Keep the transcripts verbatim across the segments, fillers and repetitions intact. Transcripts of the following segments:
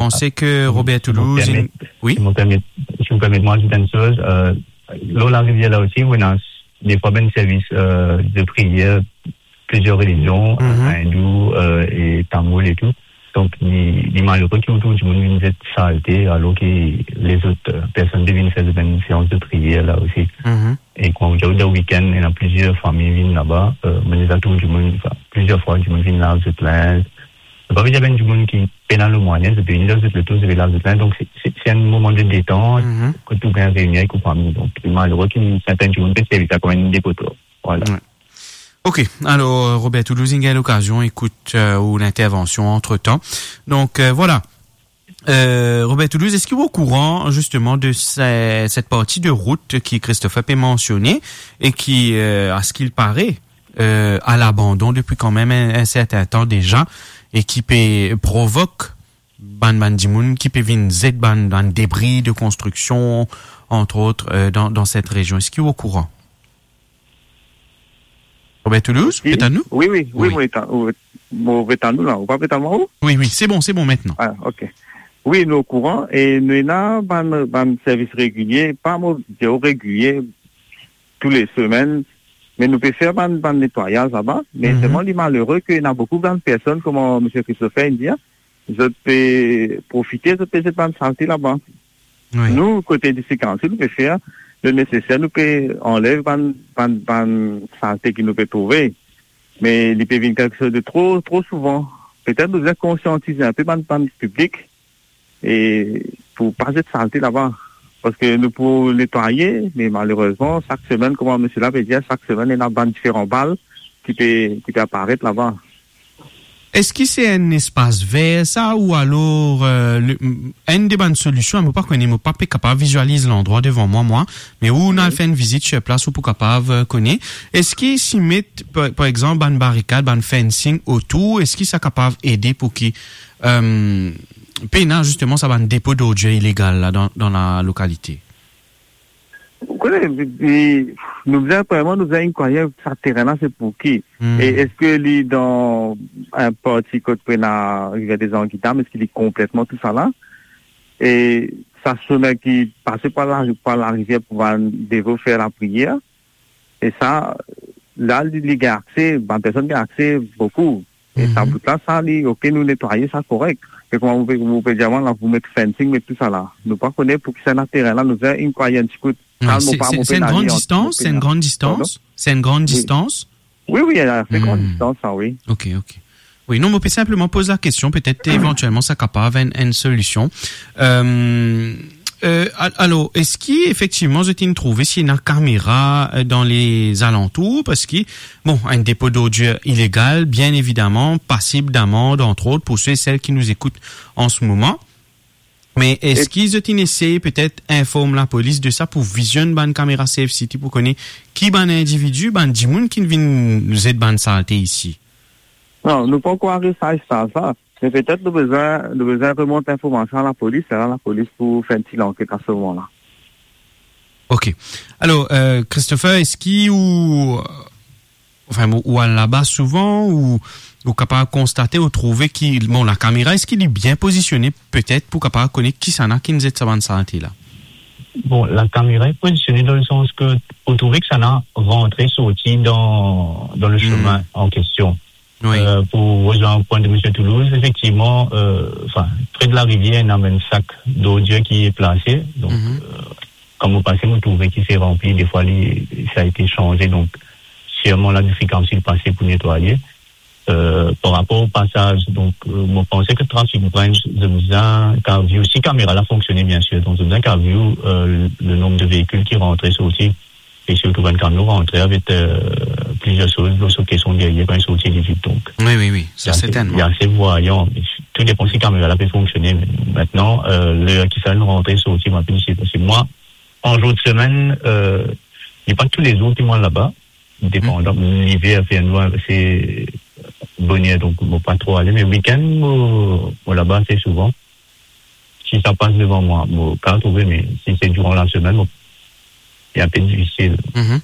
Panse ke Robert Toulouse, si mo permet, wi? Si mo permet, si mo permet mwa azout enn soz, euh, lor larivier la osi, ou ena defwa bann servis, euh, de priyer, plizier relizion, hindou, euh, e tamoul e tou. Donk, li, li malere ki ou trouv dimoun vinn zet salte, alor ki lezot, euh, personn pe vinn fer bann seans de priyer la osi. E kan ou dir dan wikenn, ena plizier fami vinn laba, euh, mo deza trouv dimoun, anfin, plizier fwa, dimoun vinn lav zot linz. Sa pa ve dir bann dimoun ki pena lemwayen, zot pe vinn dan zot loto, zot pe lav zot linz. Donk, se, se, se enn moman de detant, kot ou gagn reyini avek ou fami. Donk, li malere ki sertin dimoun pe servi sa kouma enn depotoir. Vwala. Wi. Ok, alor, Robert Toulouse, inn gagn lokazion ekout, euh, ou lintervansion antretan. Donk, euh, vwala. Euh, Robert Toulouse, eski ou okouran, zisteman, de se-, set parti de rout ki Christopher pe mansione e ki, euh, a ce qu'il paraît, euh, a labandon depi kanmem enn, enn sertin tan deza e ki pe provok bann, bann dimoun ki pe vinn zet bann, bann debri de konstriksion, entre autres, euh, dan, dan set rezion? Eski ou okouran? Robert Toulouse, wi, ou pe tann nou? Wi, wi, wi, wi, mo pe tann, wi, mo pe tann nou la. Ou pa pe tann mwa, ou? Wi, wi, se bon, se bon aster. Ah, ok. Wi, nou okouran e nou ena bann, bann servis regilie, pa mo dir regilie, tou le semenn, me nou pe fer bann, bann netwayaz laba, me selman li malere ke ena boukou bann personn, kouma misie Christopher inn dir, zot pe profite, zot pe zet bann salte laba. Wi. Nou, kote District Council, nou pe fer le neseser, nou pe anlev bann, bann, bann salte ki nou pe trouve. Me li pe vinn kelksoz de tro, tro souvan. Petet nou bizin konsiantiz inpe bann, bann piblik e pou pa zet salte laba. Paske nou pou netwaye, me malerezman, sak semenn, kouma misie la pe dir, sak semenn, ena bann diferan bal ki pe, ki pe aparet laba. Eski se enn espas ver sa, ou alor, euh, le, m-, enn de bann solision, mo pa kone, mo pa pe kapav vizializ landrwa devan mwa, mwa, me ou, wi, al fer enn vizit sur plas, ou pou kapav, euh, kone. Eski si met, par, par exanp, bann barikad, bann fencing otour, eski sa kapav ede pou ki, euh, pena zisteman sa bann depo d'ordures ilegal la dan, dan la lokalite? Ou kone, li, li, nou bizin vreman, nou bizin enn kone sa terenn la, se pou ki? Hmm. E eski li dan enn parti kot pena Rivière des Anguilles Dames, eski li konpletman tou sa la? E sa semin ki pase par la, par larivier pou bann devo fer lapriyer. E sa, la, li, li gagn akse, bann personn gagn akse boukou. E sa bout la, sa, li, ok, nou netwaye sa korek. Me kouma ou pe, ou pe dir mwa la, pou met fencing, met tou sa la. Nou pa kone pou ki sa ena terenn la, nou bizin enn kone enn ti kout. Non, kalm, se, mo pa, se, mo se pena enn gran distans, se enn gran distans, pardon? Se enn gran distans? Wi, wi, ase gran distans, sa, wi. Ok, ok. Wi, non, mo pe sinpleman poz lakestion, petet evantielman sa kapav enn, enn solision. Euh, euh, al-, alor, eski efektivman zot inn trouve si ena kamera, euh, dan lezalantour? Paski, bon, enn depo d'ordures ilegal, bien evidaman, pasib d'amande, entre autres, pour ceux et celles qui nous écoutent en ce moment. Me eski zot inn esey petet inform lapolis de sa pou vizionn bann kamera Safe City pou kone ki bann individi, bann dimoun ki vinn zet bann salte isi? Non, nou pankor ariv sa stad la. Me petet nou bizin, nou bizin remont linformasion a lapolis, e la lapolis pou fer enn ti lanket a se moman la. Ok. Alor, euh, Christopher, eski ou, anfin, ou, ou al laba souvan, ou, ou kapav konstate, ou trouve ki, bon, lakamera, eski li bien pozisione, petet, pou kapav kone kisannla ki inn zet sa bann salte la? Bon, lakamera li pozisione dan lesans ke ou trouve ki kisannla rantre, sorti dan, dan le semin an kestion. Wi. Euh, pou rezwenn pwin de misie Toulouse, efektivman, euh, anfin, pre de larivier, ena bann sak d'ordir ki plase. Donk, euh, kan mo pase, mo trouve ki se ranpli, defwa li, sa été sanze, donk sirman la District Council pase pou netwaye. Euh, par rapor o pasaz, donk, euh, mo panse ke Traffic Branch, zot bizin kapav view, si kamera la fonksione, bien sir, donk zot bizin kapav view, euh, le, le nonb de veikil ki rantre, sorti, e sirtou bann kamion rantre avek, euh, plizier soz lor so keson deryer kan li sorti, li vid. Donk, wi, wi, wi, sa, li ase, sertennman, li ase vwayan, me tou depann si kamera la pe fonksione. Me aster, euh, ler ki sa rantre, sorti, mo pa pe dir, paske mwa, an zour de semenn, euh, li pa toulezour ki mo al laba, depandan, liver fer nwar, se boner, donk mo pa tro ale, me wikenn, mo, mo laba ase souvan. Si sa pas devan mwa, mo kapav trouve, me si se diran lasemenn, mo, li enpe difisil. Mhm.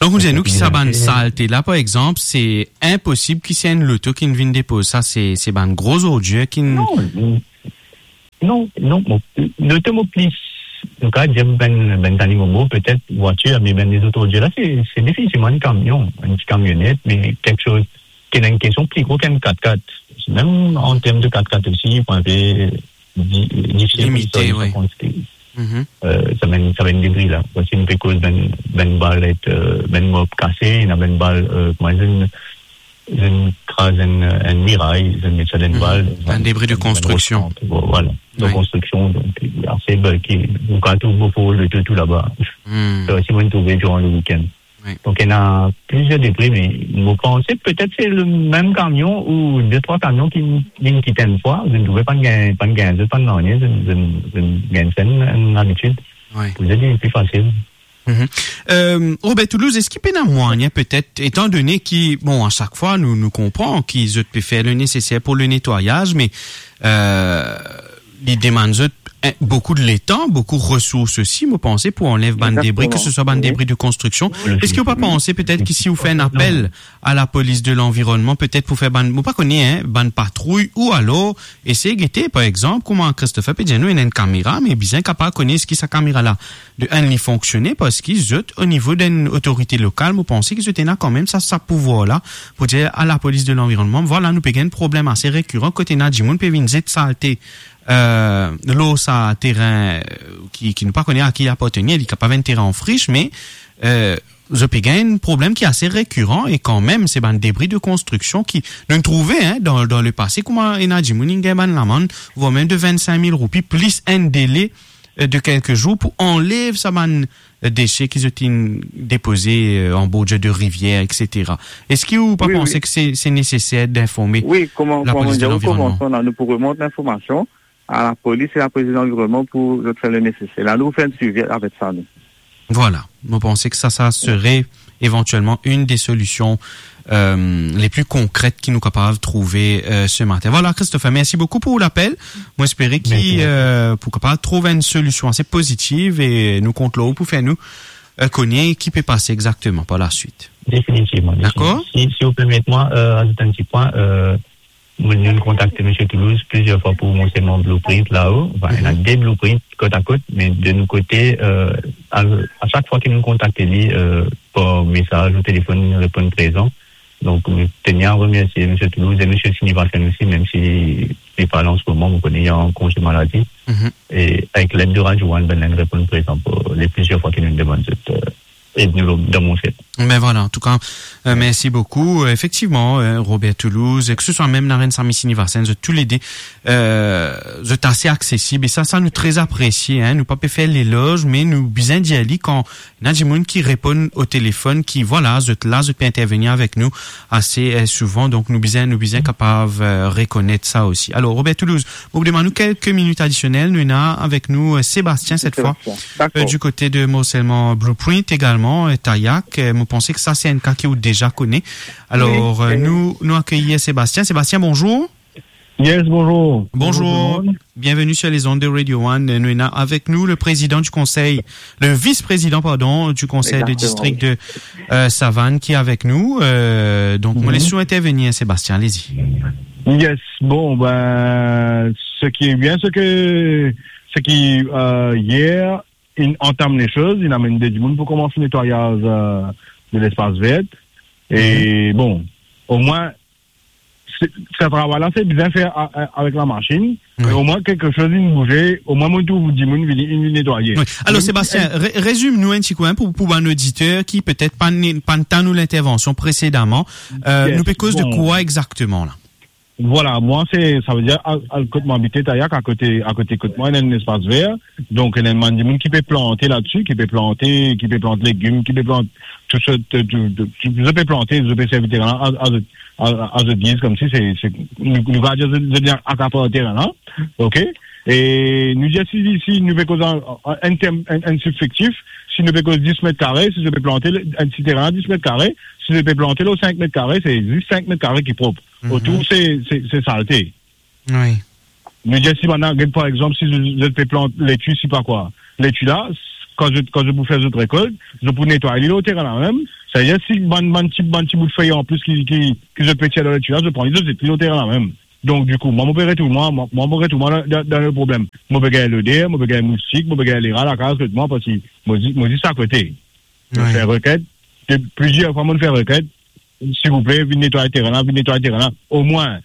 Donk, ou dir nou ki sa bann salte la, par exanp, se inposib ki se enn loto ki vinn depoz sa, se, se bann gro zordir ki... Non, Non, non, mo, nou te mo plis, nou kapav dir bann, bann zanimo mo, petet vwatir, me bann lezot ordir la, se, se difisilman enn kamion, enn ti kamionet, me kiksoz ki ena enn kestion pli gro ki enn kat-kat. Mem an term de kat-kat osi, pou enpe di-, difisil pou Limite, sort wi. Kantite. Mhm. Euh, sa bann, sa bann debri la. Parski nou pe koz bann, bann bal et, euh, bann mob kase, ena bann bal, euh, kouma dir, zot inn kraz enn, enn miray, zot inn met sa dan enn bal, mhm, bann debri de konstriksion. Bon, vwala. De konstriksion, donk, ase, ben, ki, nou kapav trouv boukou de tou, tou laba. Hmm. Sa osi, mo'nn trouve diran le weekend. Wi. Donk, ena plizier debri, me mo panse petet se le mem kamion ou de, trwa kamion ki, ki kit enn fwa, zot trouve pa'nn gagn, pa'nn gagn, zot pa'nn nanye, zot, zot, zot gagn sa enn, enn labitid. Wi. Pou zot, li pli fasil. Mhm. Euh, Robert Toulouse, eski pena mwayin petet, etan done ki, bon, a sak fwa, nou, nou konpran ki zot pe fer le neseser pou le netwayaz, me, euh, li demann zot, eh, boukou de letan, boukou resours osi, mo panse, pou anlev bann debri, ke se swa bann debri de konstriksion. Eski ou pa panse petet ki si ou fer enn apel a lapolis de lanvironnman, petet pou fer bann, mo pa kone, hein, bann patrouy, ou alor esey gete, par exanp, kouma Christopher pe dir nou, ena enn kamera, me bizin kapav kone eski sa kamera la, de enn, li fonksione, parski zot, o nivo d'enn otorite lokal, mo panse ki zot ena kanmem sa, sa pouvwar la, pou dir a lapolis de lanvironnman, vwala, nou pe gagn problem ase rekiran, kot ena dimoun pe vinn zet salte, euh, lor sa terin, euh, ki, ki nou pa kone a ki li apartenir, li kapav enn terin an fris, me, euh, zot pe gagn enn problem ki ase rekiran e kanmem se bann debri de konstriksion ki nou trouve, hein, dan, dan lepase, kouma ena dimoun inn gagn bann lamann, vwar mem de vinn-sink mil roupi, plis enn dele, euh, de kelke zour pou anlev sa bann, euh, dese ki zot inn depoze, euh, an bordir de rivier, et cetera. Eski ou pa panse ki se, se neseser d'informe lapolis de lanvironnman? Wi, wi. Wi, kouma, kouma mo dir, nou pou remont linformasion a lapolis e lapolis de lanvironnman pou zot fer le neseser. La, nou fer enn swivi avek sa, nou. Vwala, mo panse ki sa, sa sere evantielman enn de solision, euh, le pli konkret ki nou kapav trouve, euh, se matin. Vwala, Christopher, mersi boukou pou lapel. Mo espere ki, mersi, mersi, euh, pou kapav trouv enn solision ase pozitiv e nou kont lor ou pou fer nou, euh, kone ki pe pase exakteman par laswit. Definitivman, definitivman. Dakor? Si, si ou permet mwa, euh, azout enn ti pwin, euh, Mo'nn kontakte misie Toulouse plizier fwa pou mo selman blueprint lao. Anfin, ena de blueprint kot a kot, me de nou kote, euh, a, a sak fwa ki nou kontakte li, euh, par mesaz ou telefonn, li reponn prezan. Donk, nou teni a remersie misie Toulouse e misie Sinivasen osi, mem si li pa la an se moman, mo kone li an konze maladi. E avek led de Radio One, ben, li reponn prezan pou le plizier fwa ki nou demann zot, euh, e nou dan mo set. Ben vwala, antouka, euh, mersi boukou. Euh, efektivman, euh, Robert Toulouse, ke se swa mem Narenn Sami Sinivasen, zot toulede, euh, zot ase aksesib. E sa, sa nou tre apresie, hein. Nou pa pe fer leloz, me nou bizin dir li kan ena dimoun ki reponn o telefonn, ki, vwala, zot la, zot pe intervenir avek nou ase, euh, souvan. Donk, nou bizin, nou bizin kapav, euh, rekonet sa osi. Alor, Robert Toulouse, mo pou demann ou kelke minit adisionel. Nou ena avek nou, euh, Sébastien, set fwa. Sébastien. Dakor. Euh, du kote de Morselman Blueprint egalman, euh, Tayak. Euh, mo panse ki sa se enn ka ki ou deza kone. Alor, wi, euh, wi, nou, nou akeyir Sébastien. Sébastien, bonzour. Yes, bonzour. Bonzour. Bonzour tout le monde. Bienvenue sur les ondes de Radio One. Euh, nou ena avek nou le président du conseil, le vice-président, pardon, du conseil de district de, euh, Savane ki avek nou. Euh, donk, mo les ou intervenir, Sébastien, allez-y. Yes, bon, ben, ce qui est bien, c'est que, c'est que, euh, hier, inn antam lesoz, inn amenn de dimoun pou koumans netwayaz, euh, de lespas ver. E bon, omwin, se, sa travay la, se bizin fer a, a, avek lamasin. Wi. Me omwin, kiksoz inn bouze, omwin, mo trouv dimoun vini, inn vinn netwaye. Wi. Alor, Sébastien, re-, rezim nou enn ti kou, hein, pou, pou bann oditer ki petet pa ni, pa'nn tann ou lintervansion presedaman. Euh, nou pe koz de kwa exakteman la? Vwala, mwa, se, sa ve dir, a, a, kot mo abite, Tayak, akote, akote kot mwa, ena enn lespas ver. Donk, ena enn bann dimoun ki pe plante ladsi, ki pe plante, ki pe plant legim, ki pe plant tou sort, tou, tou, tou, zot pe plante, zot pe servi terin la a, a zot, a, a zot giz, koumsi se, se, nou, nou kapav dir zot, zot vinn akapar terin la, ok? E nou dir si, si nou pe koz an, an, an term, an, an sibfektif, si nou pe koz dis met kare, si zot pe plante enn ti terin la dis met kare, si zot pe plante lor sink met kare, se zis sink met kare ki prop. Otour, se, se, se salte. Wi. Nou dir si bann la, get, par exanp, si zot, zot pe plant leti, si pa kwa, leti la, s-, kan zot, kan zot pou fer zot rekolt, zot pou netway li lor terin la mem. Sa ve dir si bann, bann ti, bann ti bout fey an plis ki, ki, ki zot pe tir dan leti la, zot pran li, zot zet li lor terin la mem. Donk, dikou, mwa, mo pe retourn mwa, mwa, mwa, mo retourn mwa dan, dan, dan le problem. Mo pe gagn loder, mo pe gagn moustik, mo pe gagn lera lakaz kot mwa, parski mo di, mo di sa kote. Mo fer reket, de, plizier fwa mo fer reket, "Silvouple, vinn netway terenn la, vinn netway terenn la." Omwin,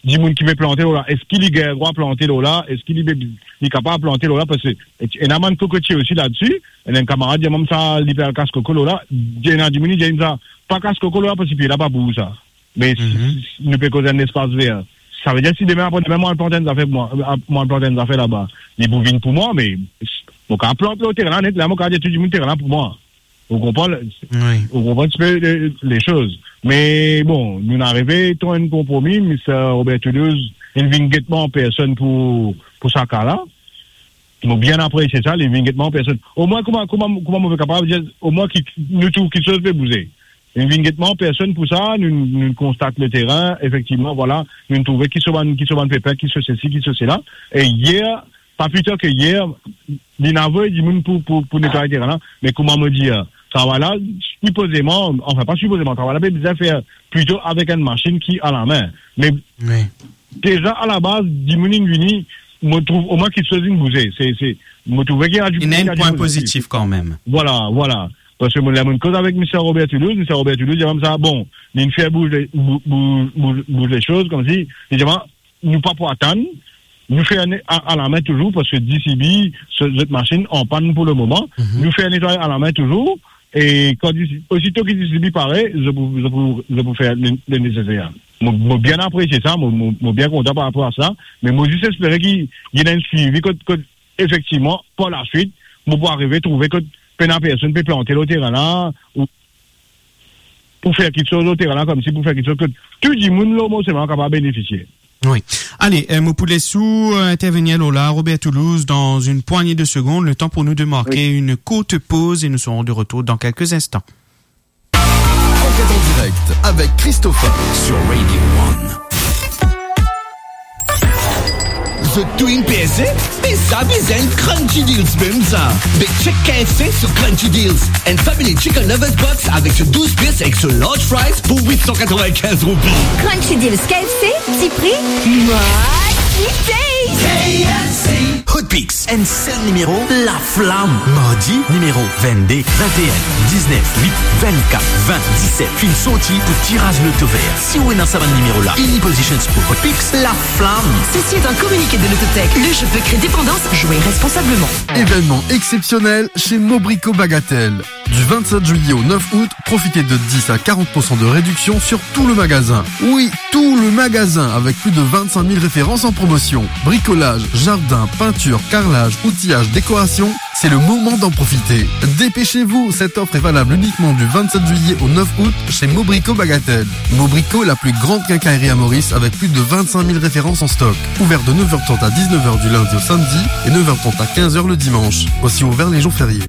dimoun ki pe plante lor la, eski li gagn drwa plante lor la? Eski li pe, li kapav plante lor la? Parski ena bann kokotie osi ladsi. Ena enn kamarad dir mwa sa, li pe al kas koko lor la. Ena dimoun dir li sa, "Pa kas koko lor la, parski pie la pa pou ou sa." Me si, si nou pe koz enn lespas ver, savedir si demin apre demin mo al plant enn zafer, mo, mo al plant enn zafer laba, li pou vinn pou mwa, me mo kapav plant lor terenn la net, la mo kapav dir tou dimoun terenn la pou mwa. Ou konpran? Wi. Ou konpran enn tipe le, le soz. Me bon, nou arive trouv enn konpromi, Mister Robert Toulouse, li vinn get mwa an personn pou, pou sa ka la. Mo bien apresie sa, li vinn get mwa an personn. Omwin, kouma, kouma, kouma mo pe kapav dir, omwin ki, nou trouv kiksoz pe bouze. Li vinn get mwa an personn pou sa, nou, nou konstat le terenn, efektivman, vwala, nou trouve kiksoz bann, kiksoz bann pepin, kiksoz sesi, kiksoz sela. E yer, pa pli tar ke yer, li inn avoy dimoun pou, pou, pou netway terenn la. Me kouma mo dir, travay la, sipozeman, anfin, pa sipozeman, travay la pe bizin fer plito avek enn masinn ki alame. Me deza, alabaz, dimoun inn vini, mo trouv omwin kiksoz inn bouze. Se, se, mo trouve ki ena dimoun, ena enn pwin pozitif kanmem. Vwala, vwala. Parski mo, ler mo koz avek Mister Robert Toulouse, Mister Robert Toulouse, li dir mwa sa, bon, li inn fer bouz le, bou-, bou-, bou-, bouz lesoz, koumsi, li dir mwa, nou pa pou atann, nou fer ne-, a, alame touzour, parski D C B, se, zot masinn an pann pou le moman, nou fer netway alame touzour, e kan D C, osito ki D C B pare, zot pou, zot pou, zot pou fer le, le neseser. Mo, mo bien apresie sa, mo, mo, mo bien kontan par rapor a sa, me mo zis espere ki, ki ena enn swivi kot, kot, efektivman, par laswit, mo pou arive trouve kot pena personn pe plante lor terenn la, ou pou fer kiksoz lor terenn la, koumsi pou fer kiksoz kot tou dimoun lor mo semen kapav benefisie. Wi. Ale, euh, mo pou les ou, euh, intervenir lor la, Robert Toulouse, dans une poignée de secondes, le temps pour nous de marquer une courte pause et nous serons de retour dans quelques instants. Enquête en direct avec Christopher sur Radio One. Zot tou inn prese? Me sa bizin Crunchy Deals mem sa. Be check K F C sur Crunchy Deals. Enn family chicken lovers box avek so douz pies ek so large fries pou wit san katrevinkinz roupi. Crunchy Deals K F C, ti pri, mwa, ti taste. K F C. Hot Picks, enn sel nimero, laflam. Mardi, nimero vennde, vennteen, diznef, wit, vennkat, ven, diset, finn sorti pou tiraz loto ver. Si ou ena sa bann nimero la, any positions pou Hot Picks, laflam. Ceci est un communiqué de Lototech. Le jeu peut créer dépendance. Jouez responsablement. Événement exceptionnel chez Mobrico Bagatelle. Du vingt-sept juillet au neuf août, profitez de dix à quarante pour cent de réduction sur tout le magasin. Oui, tout le magasin, avec plus de vingt-cinq mille références en promotion. Bricolage, jardin, peinture, carrelage, outillage, décoration, c'est le moment d'en profiter. Dépêchez-vous, cette offre est valable uniquement du vingt-sept juillet au neuf août chez Mobrico Bagatelle. Mobrico, la plus grande quincaillerie à Maurice avec plus de vingt-cinq mille références en stock. Ouvert de neuf heures trente à dix-neuf heures du lundi au samedi et neuf heures trente à quinze heures le dimanche. Aussi ouvert les jours fériés.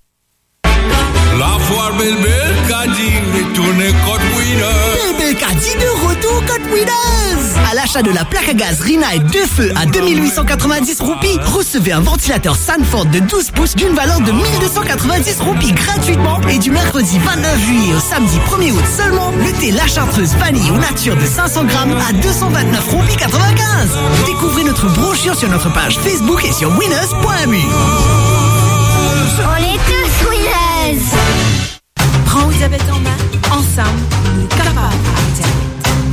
Lafoire Belbel Kadi retourne kot Winners. Belbel Kadi de retour kot Winners. À l'achat de la plaque à gaz Rinnai deux feux à deux mille huit cent quatre-vingt-dix roupies, recevez un ventilateur Sanford de douze pouces d'une valeur de mille deux cent quatre-vingt-dix roupies gratuitement. Et du mercredi vingt-neuf juillet au samedi premier août seulement, le thé La Chartreuse vanille ou nature de cinq cents grammes à deux cent vingt-neuf roupies quatre-vingt-quinze. Découvrez notre brochure sur notre page Facebook et sur winners point M U. On est tous winners. Pran ou diabet an me, ansam nou kapav aret diabet.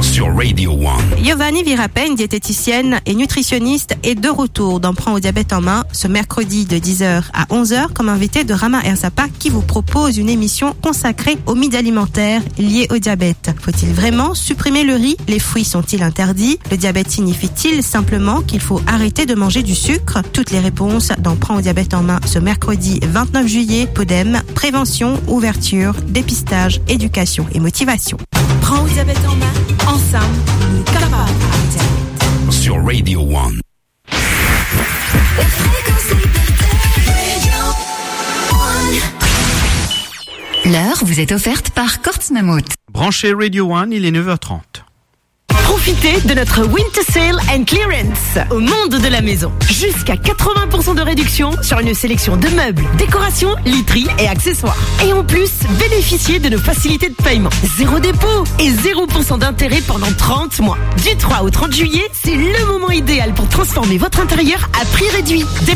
Sur Radio One. Giovanni Virapè, enn dietetisienn e nitrisionis, est de retour dans Pran ou diabet an me ce mercredi de dix heures à onze heures comme invité de Rama Ersapa, qui vous propose une émission consacrée aux mythes alimentaires liés au diabète. Faut-il vraiment supprimer le riz ? Les fruits sont-ils interdits ? Le diabète signifie-t-il simplement qu'il faut arrêter de manger du sucre ? Toutes les réponses dans Pran ou diabet an me ce mercredi vingt-neuf juillet. Podem, prévention, ouverture, dépistage, éducation et motivation. Pran ou diabet an me, ansam nou kapav aret diabet. Sur Radio One. L'heure vous est offerte par Courts Mammouth. Branchez Radio One, il est neuf heures trente. Profitez de notre Winter Sale and Clearance au monde de la maison. Jusqu'à quatre-vingts pour cent de réduction sur une sélection de meubles, décorations, literie et accessoires. Et en plus, bénéficiez de nos facilités de paiement. Zéro dépôt et zéro pour cent d'intérêt pendant trente mois. Du trois au trente juillet, c'est le moment idéal pour transformer votre intérieur à prix réduit.